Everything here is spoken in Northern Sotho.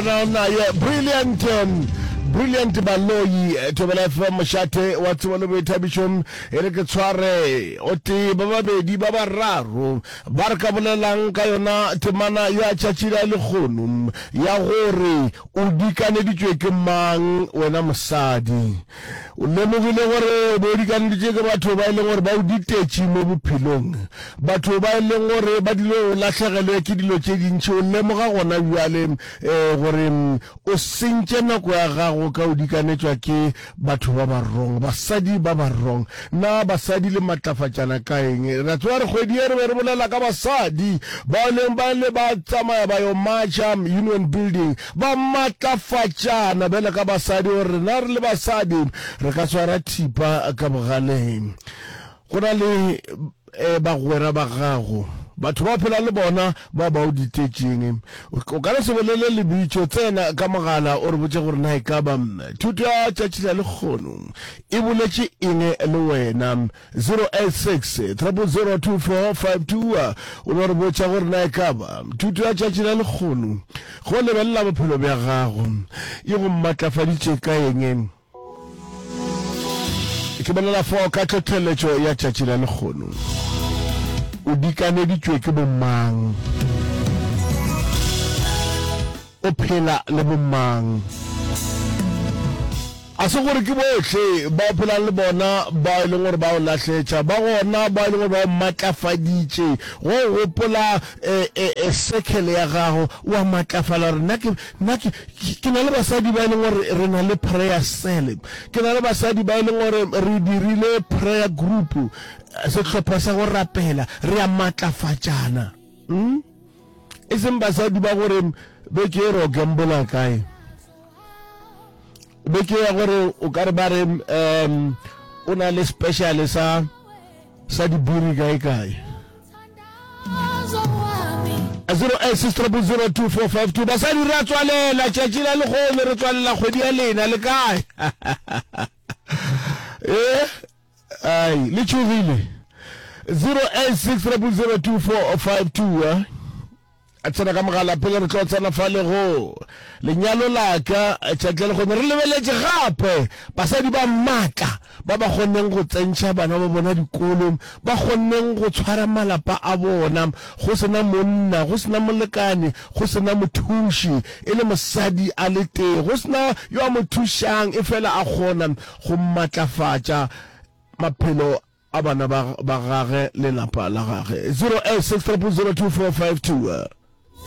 Naye Brilliant Brilliant Baloyi Thobela FM mošate wa tsebo le boithabišo e re ke tshware o tee ba babedi ba bararo ba re ka bolelang ka yona temana ya tšatši la lekgono ya gore o dikaneditšwe ke mang wena mosadi o lemogile gore o be o dikaneditšwe ke batho ba e leng gore ba o ditetše mo bophelong batho ba e leng gore ba dilo o lahlegelwe ke dilo tše dintši o lemoga gona bjale um gore o sentše nako ya gago ka o dikanetšwa ke batho ba ba wrong basadi ba ba wrong na basadi le matlafatšana ka eng re a tseba re kgwedi ye re be re bolela ka basadi ba e leng ba le ba tsamaya ba yo marcha union building Ba matlafatšana bjalo ka basadi gore rena re le basadi re ka swara thipa ka bogaleng. Go na le eh, bagwera ba gago, batho ba phela le bona ba ba o ditetšeng. O ka no se bolele lebitšo, tsena ka mogala o re botše gore na e ka ba thuto ya tšatši la lekgono e boletše eng le wena. 086 000 2452 o no re botša gore na e ka ba thuto ya tšatši la lekgono go lebelela bophelo bja gago e go matlafaditše ka eng. Ke bolela fao ka tlhohleletšo ya tšatši la lekgono. O dikaneditšwe ke bomang? O phela le bomang? A se gore ke bohle ba o phelang le bona ba e leng gore ba o lahletša. Ba gona ba e leng gore ba o matlafaditše. Go o gopola e, e, e circle ya gago, o a matlafala gore nna ke, nna ke, ke na le basadi ba e leng gore re na le prayer cell. Ke na le basadi ba e leng gore re dirile prayer group, sehlopha sa go rapela, re a matlafatšana. Hmm? E seng basadi ba gore beke e re o gambola kae. Beke ya gore o ka re ba re um o na le special sa sa dibiri kae kae. 086002452 basadi re a tswalela tšatši la lekgono re tswalela kgwedi ya lena le kae eh ai le tšhogile 086002452 eh A tsena ka mogala pele re tlo tsena fa le go lenyalo la ka tšatši la lekgono re lebeletše gape basadi ba maatla ba ba kgonneng go tsentšha bana ba bona dikolong ba kgonneng go tshwara malapa a bona go sena monna go sena molekane go sena mothuši e le mosadi a le tee go sena yo a mo thušang e fela a kgona go matlafatša maphelo a bana ba ba gage le lapa la gage. 086 000 2452.